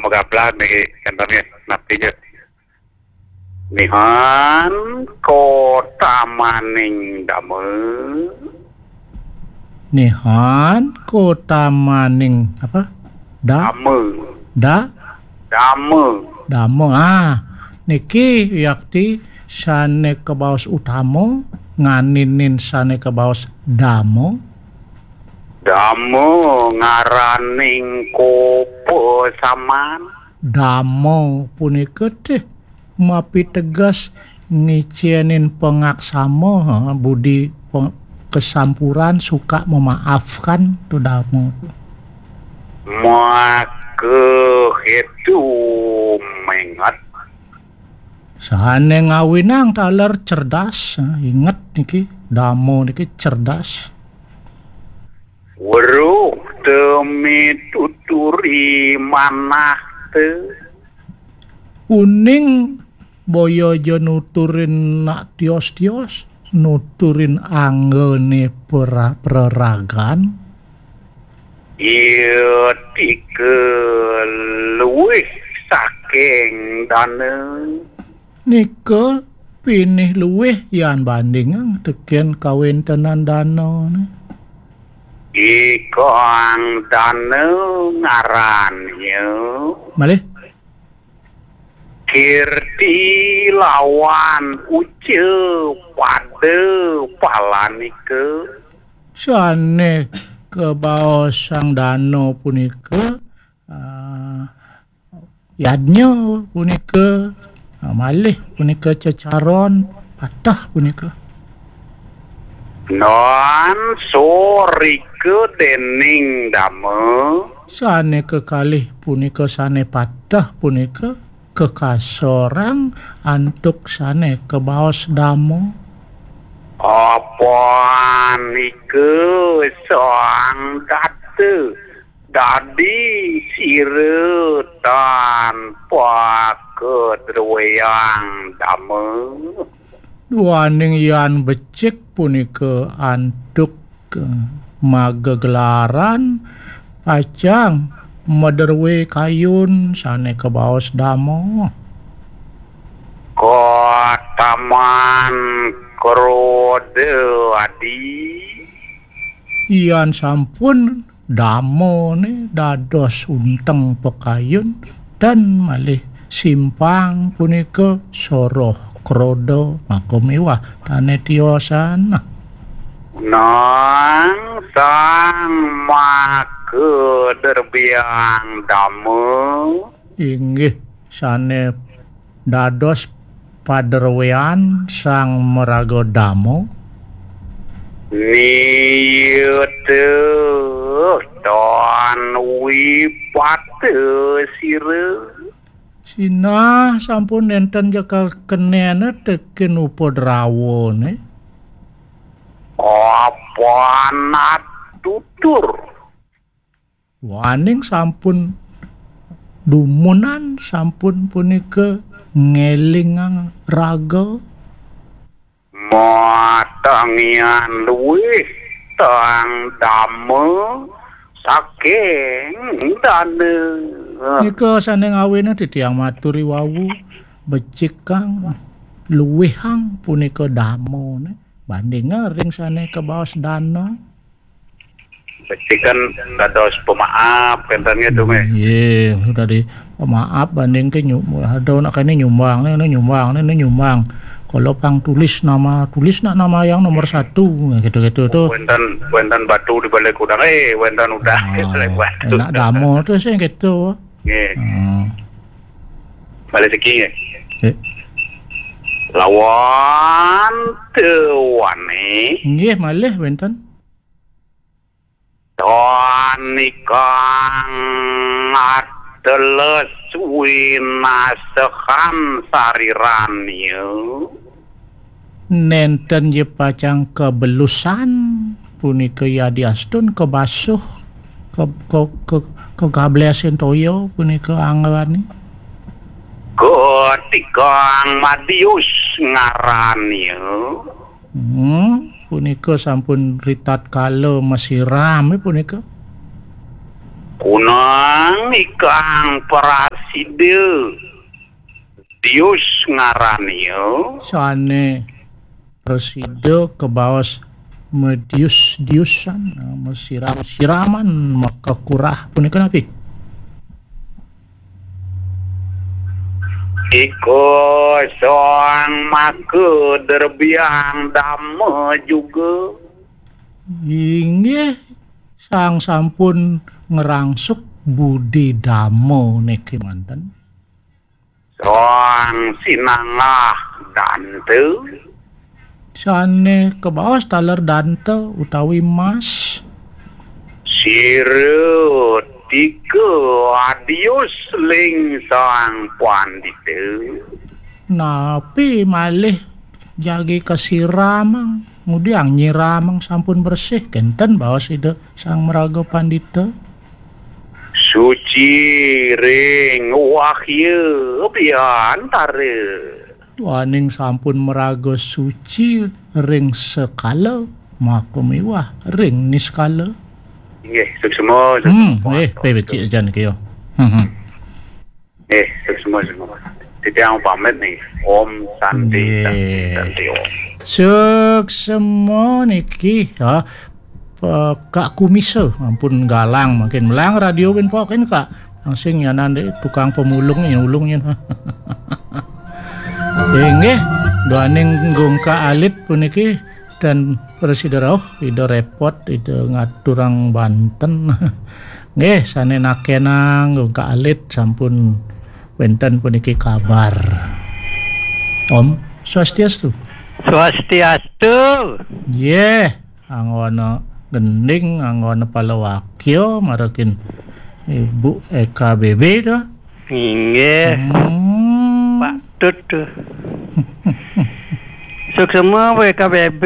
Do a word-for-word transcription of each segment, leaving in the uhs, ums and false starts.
Gablak niki, kenten nggih, napi nggih? Nihan kotamaning dama. Nihan kotamaning apa? Da? Dama. Da? Dama. Dama. Ah, niki yakti sane kabaos utama, nganinin sane kabaos dama. Dama ngaraning kopasaman. Dama punika teh mapiteges ngicenin pangaksama, ha, budi pe-, kesampuran, suka memaafkan, tu dama. Maka itu mengat. Sane ngawinang taler cerdas, ha, inget niki, dama niki cerdas. Weruh te mituturi manah te. Uning boya ja nuturin nak tios-tios, nuturin anggane pera-, praragan. Iya tika luwih saking dana. Nika pinih luwih yan bandingang teken kawentenan danane. Ikang dana ngarannya. Malih? Kirti lawan uca pada palanika. Sane kabaosang dana punika, ah, yadnya punika, ah, malih punika cecaron patah punika. Non sorika dening dama. Sane kekalih punika sane patah punika kekasorang antuk sane kabaos dama. Apa nika sang data dadi sira tanpa kadruweyang dama. Duaning yan becik punika antuk, eh, magegelaran pacang madruwe kayun sane kabaos dama. Kotaman kroda adi. Yan sampun damane dados unteng pakayun, dan malih simpang punika soroh kroda maka miwah dane tiosan. Nang sang maka derbiang dama. Inggih, sane dados padrewean sang maraga dama. Niyata tan wipata sira. Sinah sampun nenten ja kakenena teken upadrawane. Apan atutur. Waning sampun dumunan, sampun punika ngelingang raga. Matangian luwih tang dama saking dana. Nika sane ngawina titiang maturi wau, becikang luwihang punika damane bandinga ring sane kabaos dana. Becikan dados pemaaf, kenten nggih, Dum, eh. Nggih, sudah di pemaaf banding ke nyu-, ada nak kene nyumbang, ne, ne nyumbang, ne, ne nyumbang. Kalau pang tulis nama, tulis nak nama yang nomor satu, gitu-gitu tuh. Wenten, wenten batu di balik udang, eh, wenten udah di balik batu. Enak damo tuh sih gitu. Nggih. Hmm. Balik siki nggih. Nggih. Lawan tuane. Nggih, malih wenten. Tanikang ateles winasehan sariranya. Nenten je pacang kebelusan punika yadiastun kebasuh, ke, ke, ke, kegablesin toya punika anggane. Ketikang Madius ngarannya. Hmm, punika sampun ritatkala masiram, eh, punika. Kunang ikang peras Sida Dius ngarania. Sane prasida kabaos medius-diusan, mesiram-siraman, makakurah punika napi? Ika sang maka derbiang dama juga. Inggih, sang sampun ngrangsuk budi dama niki manten. Sang sinanggah danta. Sane kabaos taler danta utawi emas. Sira tika adius ling sang pandita. Napi malih jagi kasiramang, ngudiang nyiramang sampun bersih, kenten baos Ida Sang Maraga Pandita. Suci ring wahya biantara. Duaning sampun maraga suci ring sekala, maka miwah ring niskala. Inggih, suksma, suksma. Hmm, eh, pe becik ajan kaya. Hmm, hmm. Eh, suksma, suksma. Titiang pamit nih. Om Santi, Santi, Nggih. Santi, Om. Suksma niki, ya. Eh, Kak Kumisa, ampun galang mangkin. Melang radio ben pokin, Kak. Langsing nyanan deh, tukang pemulung, nyulung nyen. Inggih, duaning gungkak alit puniki dan prasida rauh, Ida repot, Ida ngaturang banten. Nggih, sane nakenang gungkak alit sampun wenten puniki kabar. Om Swastiastu. Swastiastu. Nggih, anggona gending, anggona palawakya, marakin Ibu E K B B to. Inggih. Hmm. Patut to. Suksma W K B B.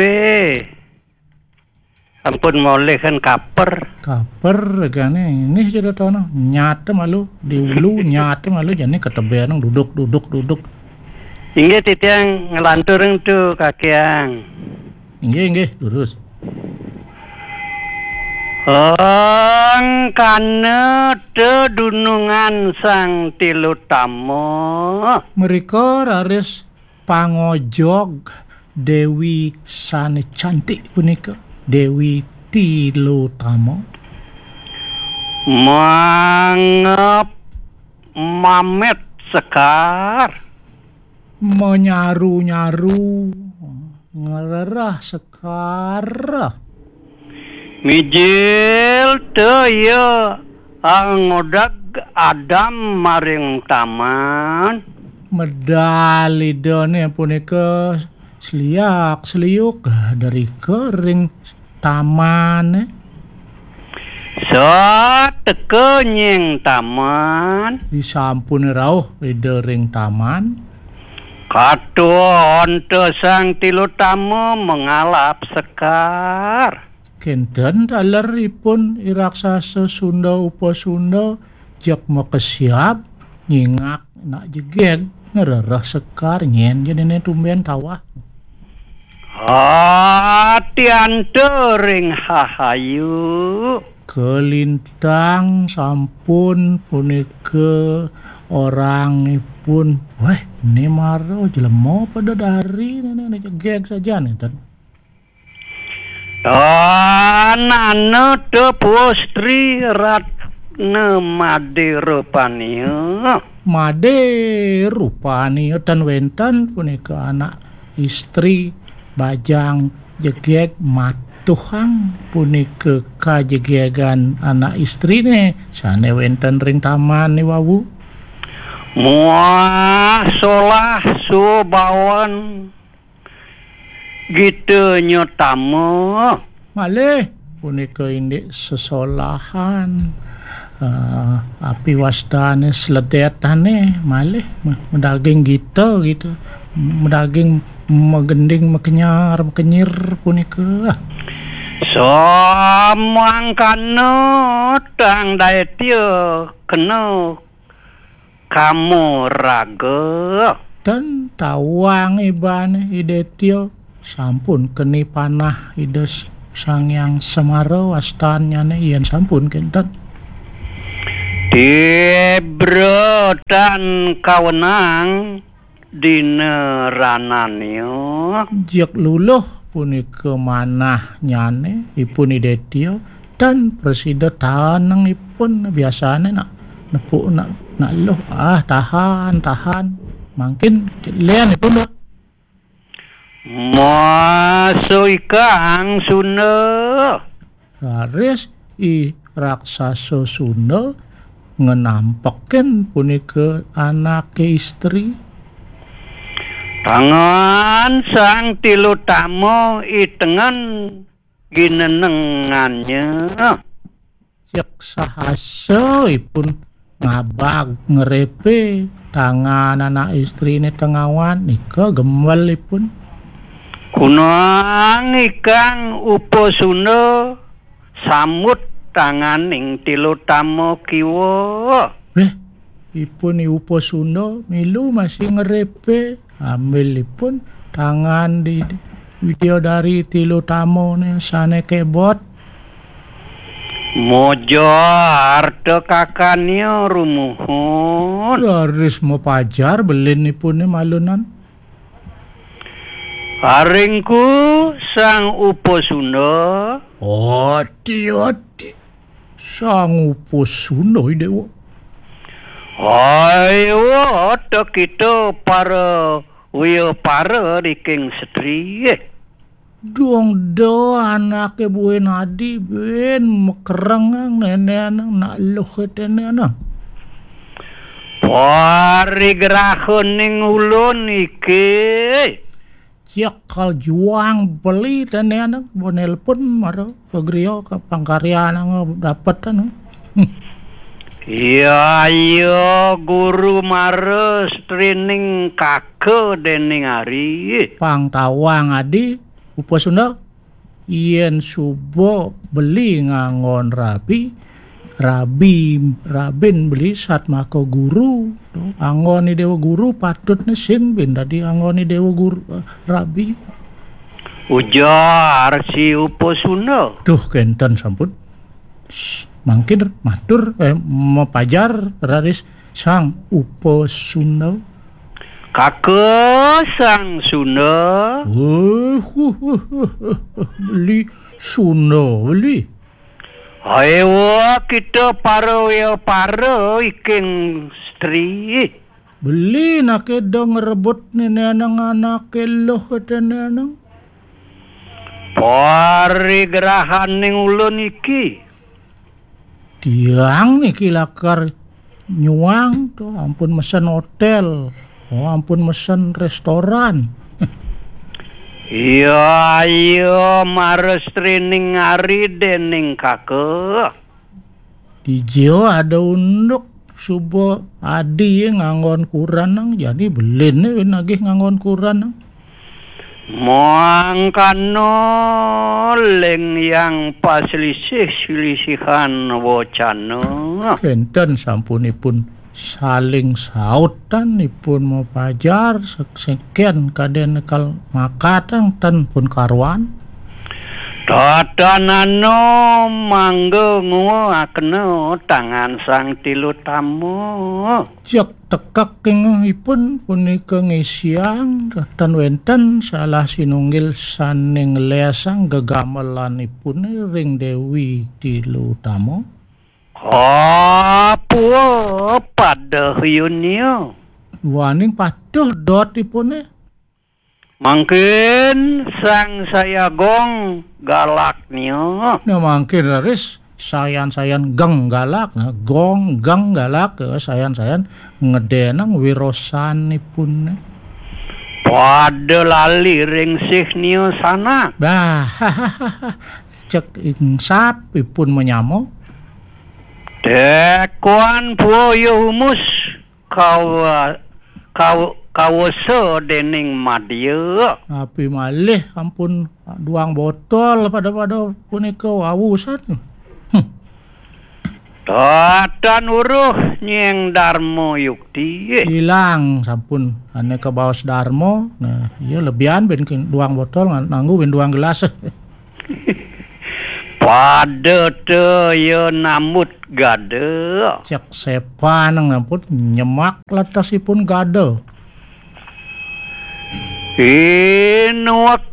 Ampun molihan kaper. Kaper regane ini sudah tono. Nyata malu di ulu, nyata malu jani ketebenang duduk, duduk, duduk. Inggih titiang nglantur ring tu kakiang. Inggih, inggih, lurus. Angkana tedunungan Sang Tilutama. Mrika raris pangojog Dewi sane cantik punika, Dewi Tilutama. Mangep mamet sekar. Menyaru-nyaru, ngrereh sekar. Mijil te iya angodag adam maring taman. Medal idane punika seliak seliuk dari kering tamane. Sateka nyeng taman. Disampun rauh Ida ring taman. Katon te Sang Tilutama mangalap sekar. Kenten taleripun i raksasa Sunda Upasunda jak makesiab nyingak nak jegeg ngrereh sekar nyen jenene tumben tawah. Atianta ring hahayu. Kalintang sampun punika orangipun. Weh, ne mara jelema pada dari nene jegeg saja nenten. Tanana te pustri ratna made rupania. Made rupania tan wenten punika anak istri bajang jegeg matuhang punika kajegegan anak istrine sane wenten ring taman niwawu. Muah solah subawan Gita nyutama. Malih punika indik sesolahan, eh, api wastane sledetane malih me-, medaging gita gitu. Medaging megending mekenyar mekenyir punika. Samangkana tang daitya kena kama raga. Dan tawang ibane Idetya sampun keni panah Ida S-, Sang Hyang Semara wastannyane yen sampun kenten. Tibra tan kawenang dina ranannya. Jek luluh punika manahnyane ipun Idetya, tan prasida taneng ipun. Biasane nak nepuk nak, nak luh, ah, tahan, tahan. Mangkin len ipun, Dot. Masa ikang Sunda. Raris i raksasa Sunda ngenampekin punika anake istri. Tangan Sang Tilutama itengen ginenengannya. Cek sahasa ipun ngabag ngrepe tangan anak istrine tengawan nika gembel ipun. Kunang ikang Upasunda samut tanganing Tilutama kiwa. Weh, ipun i Upasunda milu masih ngrepe, ambil ipun tangan di Widyadari Tilutamane sane kebot. Moja arta kakanya rumuhun. Raris mapajar belin ipune malunan. Aringku Sang Upasunda. Ati, ati. Sang Upasunda, Dewa. Ayo, ta kita para wiya para riking setri. Dong do anake buin adi bin mekerengang neneanang nak luh teneanang. Parigrahaning ulun iki. Cek kal juang beli teneanang, bo nelpon mara pagriya ka pangkaryanang dapetan. Iya, iya, guru mara strining kaka dening ari. Pang tawang adi, Upasunda, yen suba beli nganggon rabi, rabi, rabin beli satmaka guru. Anggone Dewa Guru patutne sing bin dadi anggone Dewa Guru, eh, rabi. Ujar si Upasunda. Duh, kenten sampun. Mangkin matur, eh, mapajar raris Sang Upasunda. Kaka Sang Sunda. Wah, wah, wah, wah, wah. Beli Sunda, beli. Ayo kita para wiya para iking stri. Beli nake do ngrebut neneanang anake luh teneanang. Parigrahaning ulun iki. Tiang niki lakar nyuang to, ampun mesen hotel, oh, ampun mesen restoran. Iya, iya, mara strining ari dening kaka. Dija ada unduk suba adi nganggon kuranang, jani beline nagih nganggon kuranang. Mangkana ling yang paslisih-silisihan wacana. Kenten sampunipun saling sautan ipun mapajar sek-, seken kaden kal makatang ten pun karuan. Tatanana mangga nguakna tangan Sang Tilutama. Cek tekek kengehipun punika ngisiang, tan wenten salah sinunggil sane nglesang gegamelanipune ring Dewi Tilutama. Apa pada hyunia? Duaning patuh dotipune. Mangkin Sang Sayagong galaknya. Nah, mangkin raris sayan-sayan geng galak, nah, gong geng galak, eh, sayan-sayan ngedenang wirosanipun. Pada lali ring sihnya sanak. Bah, cek ingsap ipun menyamo. Tekuan puya humus kawa-, kaw-, kawasa dening madya. Api malih ampun duang botol pada-pada punika wawusan. Hmm. Tatan uruh nyeng Darma Yukti. Ilang sampun ane kabaos Darma. Nah, iya lebihan ben ke-, duang botol ngan-, nanggu ben duang gelas. Pada te ya nambut gada. Cek sepan nang ampun nyemak latasipun gada. Inuwekannya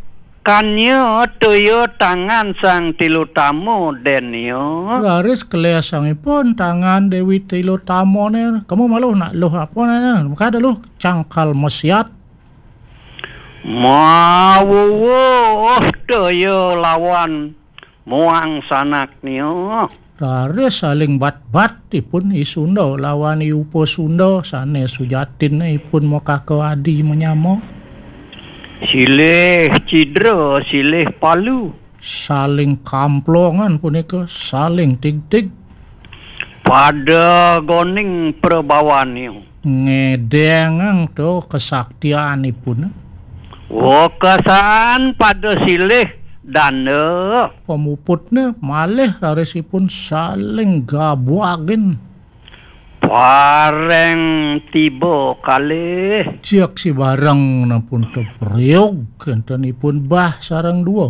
toya tangan Sang Tilutama, dennya. Raris kelesangipun tangan Dewi Tilutamane. Kamu maluh nak luh apa ne? Kada luh cangkal mesiat. Mawuwuh toya lawan muang sanaknya. Raris saling bat-bat ipun I Sunda lawan I Upa Sunda sane sujatinne ipun makaka adi manyama. Silih cidra, silih palu. Saling kamplongan punika, saling tigtig. Pada goning prabawannya. Ngedengang to kesaktianipun. Wekasaan pada silih danda. Pamuputne malih rarisipun saling gabuagin. Pareng tiba kalih. Cek si bareng nampun tepriug kentenipun bah sareng dua.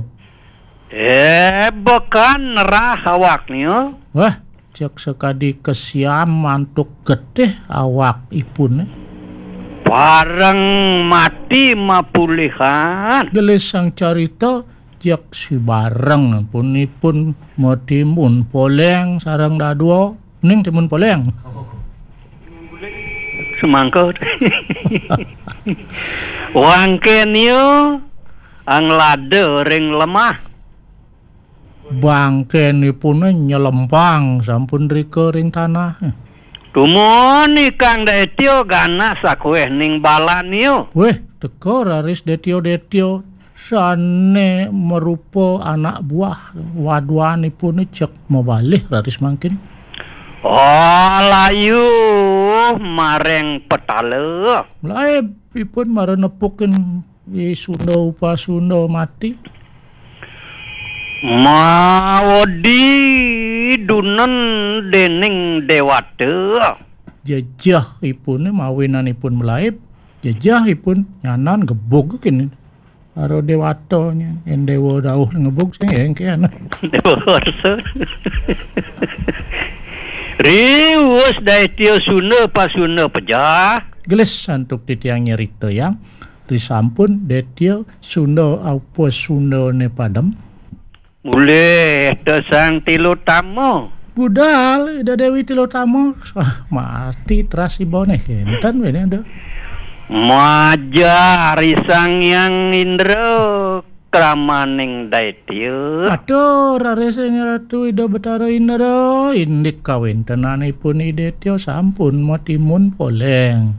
Eh, bekan nerah awaknya. Wah, cek sekadi kesiam mantuk getih awak ipun. Pareng mati mapulihan. Gelis sang carita, cek si bareng pun ipun matimun poleng sareng dadua. Ning timun poleng. Semangka. Wangkennya anglada ring lemah. Bangkenipune nyelempang sampun rika ring tanah. Tumun ikang Detya ganas sakueh ning balannya. Weh, teka raris Detya-Detya sane marupa anak buah waduanipune cek mabalih raris mangkin. Oh, layu mareng petala. Mlaib ipun mara nepukin I Sunda Upasunda mati. Mawedi dunen dening dewata. Jejeh ipune mawinanipun mlaib, jejeh ipun nyanan gebug kene. Karo dewatanya, en dewa dauh ngebug sing engke ana. Dewa warsa. Riwus Daitya Sunda Pasunda pejah. Gelis santuk titiang nyerita yang risampun Detya Sunda apa Sundane padem. Mulih te Sang Tilutama. Budal Ida Dewi Tilutama. Ah, mati teras ibane kenten bene ada. Maja Ari Sang Hyang Indra kramaning Daitya. Aduh, raris ing Ratu Ida Betara Indra, indik kawentenanipun Ida Detya sampun matimun poleng.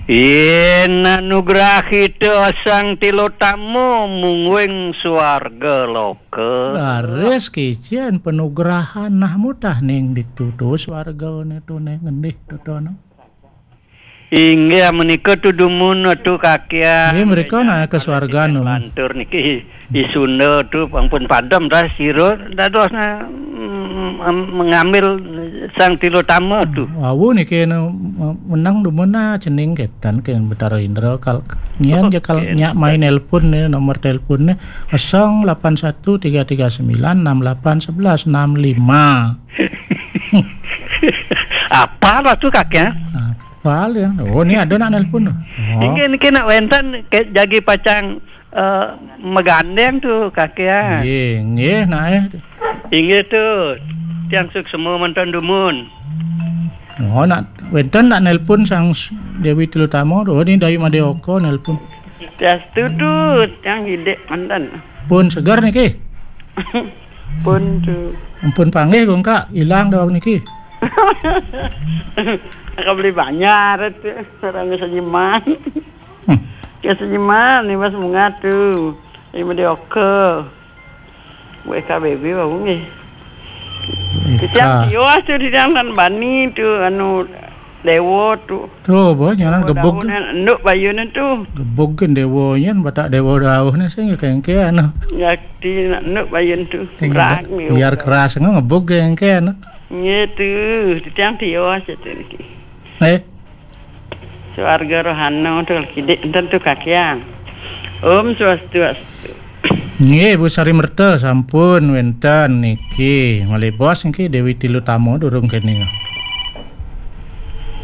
Yen anugrahita Sang Tilutama mungguing swarga loka. Laris kicen panugrahan nah mutah ning ditutus wargane tune ngendih tutono. Inggih menika tu dumun tu kakian. Nggih, mereka nak ke swarga nu. Lantur niki I Sunda tu ampun padem dah sira dados na, mm, mengambil Sang Tilutama tu. Wau niki nu menang dumun na cening ketan ke Betara Indra kal ngian je kal nyak main nelpon ni nomor telpon ni kosong lapan satu tiga tiga sembilan enam lapan sebelas enam lima. Apa lah tu kakian? Apa ya? Oh, ni ada nak nelpon tu. Oh. Inggih niki nak wenten ke jagi pacang eh, megandeng tu kakian. Nggih, nggih nak eh. Inggih tu. Tiang suksma mantan dumun. Oh, nak wenten nak nelpon Sang Dewi Tilutama tu. Oh, ni Dayu Madeoka nelpon. Tias tu tu tiang hidik mantan. Pun segar niki. Pun tu. Ampun panggih kok ilang dawang niki. Aku beli banyak tu. Orang senyuman. Hmm. Ke senyuman ni mas bunga tu. Ini dia oke. Buat K B B baru nggih. Kita tiwas tu di dalam bani tu anu dewa tu. Tu apa nyanan gebug. Enduk bayun tu. Gebug kan dewa nyan batak dewa dauh ni sing kengke anu. Yakti nak enduk bayun tu. Biar keras ngebug kengke anu. Ngitu, titiang tiwas itu niki. Eh. Suarga rohana tu kidik enten tu kakian. Om swastiastu. Nggih, Bu Sari Merta, sampun wénten niki. Malih bos niki Déwi Tilutama durung kéné.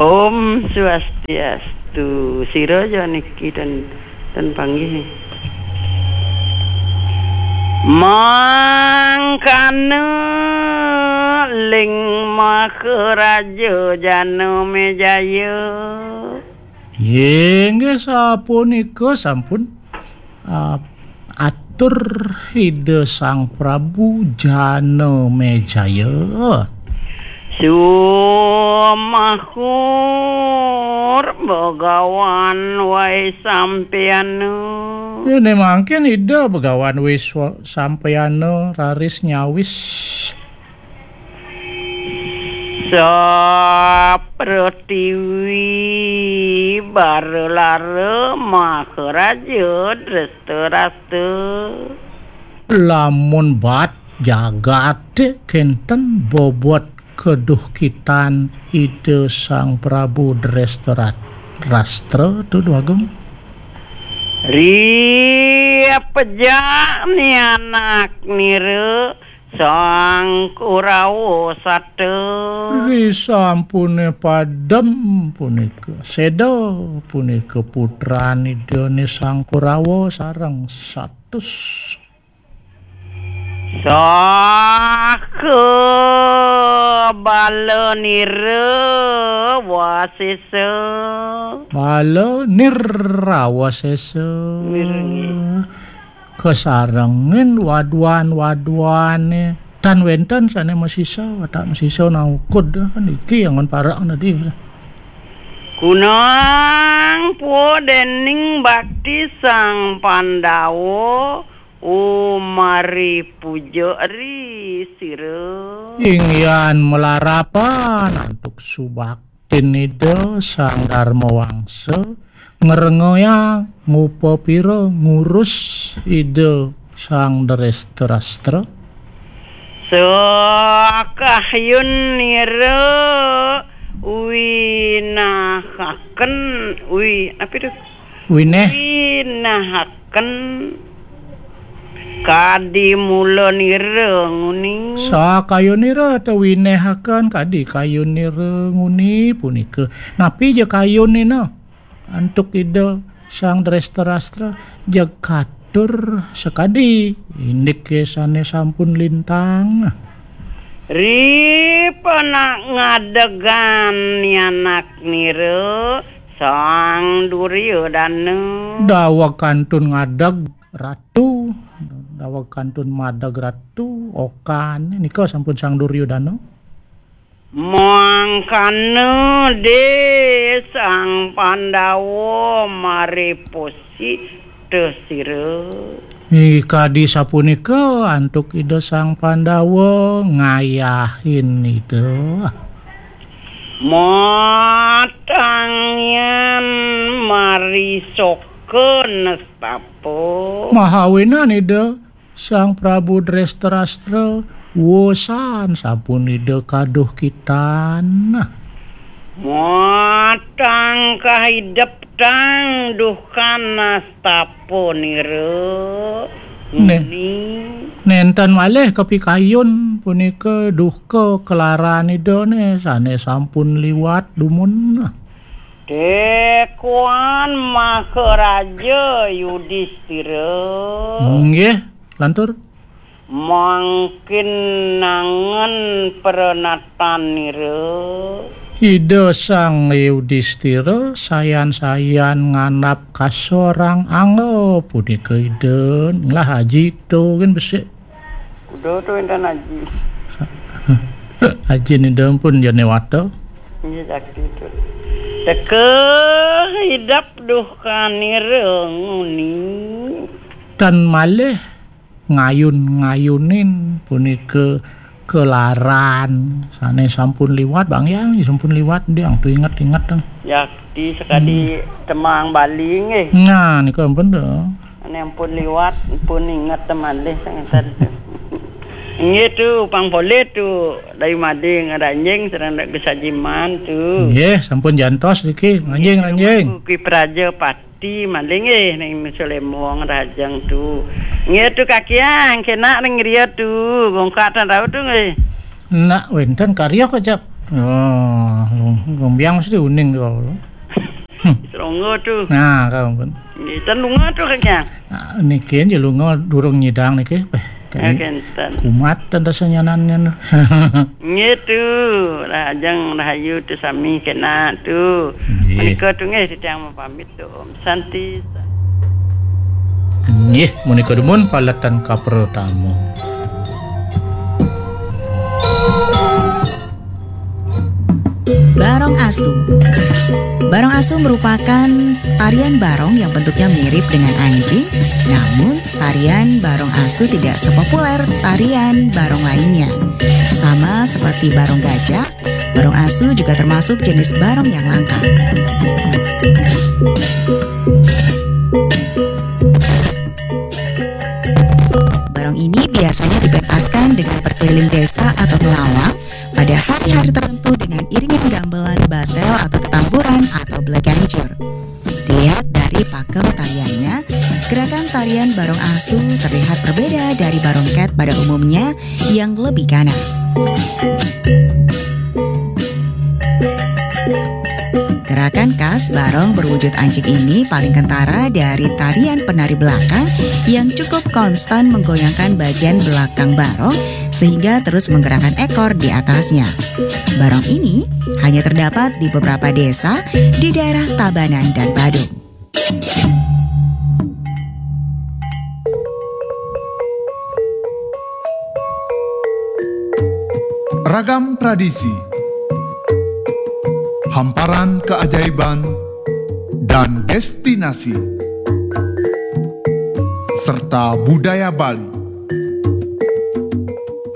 Om Swastiastu. Sira ja niki ten, ten panggih. Mangkana ling Maharaja Janamejaya. Inggih sapunika sampun, ah, atur Ida Sang Prabu Janamejaya. Sumahur Begawan Waisampayana. Déné mangkin Ida Begawan Wis-, Sampayana raris nyawis. Sapretiwi baralara Maharaja Drestadrasta. Lamun bat jagaté kénten bobot kaduhkitan Ida Sang Prabu Drestadrastra tu, Dwagung. Ri pejak ni anak nira Sang Kurawa sata. Ri sampuné padem punika, séda punika putran Idané Sang Kurawa sareng satus. Saha bala nira wasesa. Bala nira wasesa. Nira, nggih. Kasarengin waduan-waduané. Tan wénten sané masisa, watak masisa naukud, niki angon parak nadi. Kunang pua dening bakti Sang Pandawa, umari puja ri sira. Inggihan malarapan antuk subak Tinida Sang Dharma Wangsa ngrengoyang ngupapira ngurus Ida Sang Drestadrastra. Sakahyun nira winahaken, wi-, apa itu? Wineh. Winahaken kadi mula nira nguni. Sakayunira ta winehaken kadi kayunira nguni punika. Napi ja kayunina? Antuk Ida Sang Drestadrastra jeg katur sakadi, indiké sané sampun lintang. Ri panak ngadegan ni anak nira Sang Duryodana. Daweg kantun ngadeg Ratu, daweg kantun madeg Ratu, okan nika sampun Sang Duryodana. Mangkana de Sang Pandawa maripusi tesira. Ih, kadi sapunika antuk Ida Sang Pandawa ngayahin Ida. Matangyan marisoka nestapa. Mahawinan Ida Sang Prabu Drestadrastra wosan sampun Ida kaduhkitan. Matang kahidep tang duhkan nastapa nira. Né-, nguni. Nénten malih kapikayun punika duhka kelaran Idané sané sampun liwat dumun. Tekuan Maharaja Yudistira. Nggih, lantur. Mangkin nangen pranatan nira. Ida Sang Yudistira sayan-sayan ngandap kasorang angga punika Ida. Lah aji to gén besik. Kuda to énten aji. Aji Ida pun jane wata. Iya, jakti to. Teka hidap duhkan nira nguni. Tan malih ngayun-ngayunin punika kelaran sané sampun liwat, Bang Yang, sampun liwat, Diang, tu inget-inget, Bang. Yakti sakadi hmm. Temang Bali nggih. Nah, nika ampun to. Ané ampun liwat, ampun inget malih sangetan tu. Nggih tu, pang polih tu, dari Mading Ranjing sareng Dak Gesajiman tu. Nggih, sampun jantos niki, Ranjing, nggih, Ranjing. Ki Praja Pati. Ih, maling eh, ning Mesu Lembong Rajang tu. Nggih tu kakiang, kena ning ria tu, gongkat dan rau tu nggih. Nak wenten karya kok, Jap. Oh, lung, lung biang mesti uning tu. Hmm. Seronggo tu. Nah, kau pun. Nggih, ten lunga tu kakiang. Nah, niki aja lunga durung nyidang niki. Eh, Ya, kenten. Kumat ten rasa nyanan nyan. Nggih tu, Rajang Rahayu tu sami kena tu. Nggih. Menika tu nggih titiang mapamit tu. Om Santi. Nggih, menika dumun paletan kapertama. Barong Asu. Barong Asu merupakan tarian barong yang bentuknya mirip dengan anjing, namun tarian barong asu tidak sepopuler tarian barong lainnya. Sama seperti barong gajah, barong asu juga termasuk jenis barong yang langka. Barong ini biasanya dipentaskan dengan berkeliling desa atau melawang pada hari-hari tertentu dengan iringan gamelan batel atau tetamburan atau beleganjur. Dilihat dari pakem tariannya, gerakan tarian barong asu terlihat berbeda dari barong cat pada umumnya yang lebih ganas. Gerakan khas barong berwujud anjing ini paling kentara dari tarian penari belakang yang cukup konstan menggoyangkan bagian belakang barong sehingga terus menggerakkan ekor di atasnya. Barong ini hanya terdapat di beberapa desa di daerah Tabanan dan Badung. Ragam tradisi, hamparan keajaiban, dan destinasi, serta budaya Bali.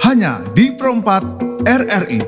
Hanya di Pro empat R R I.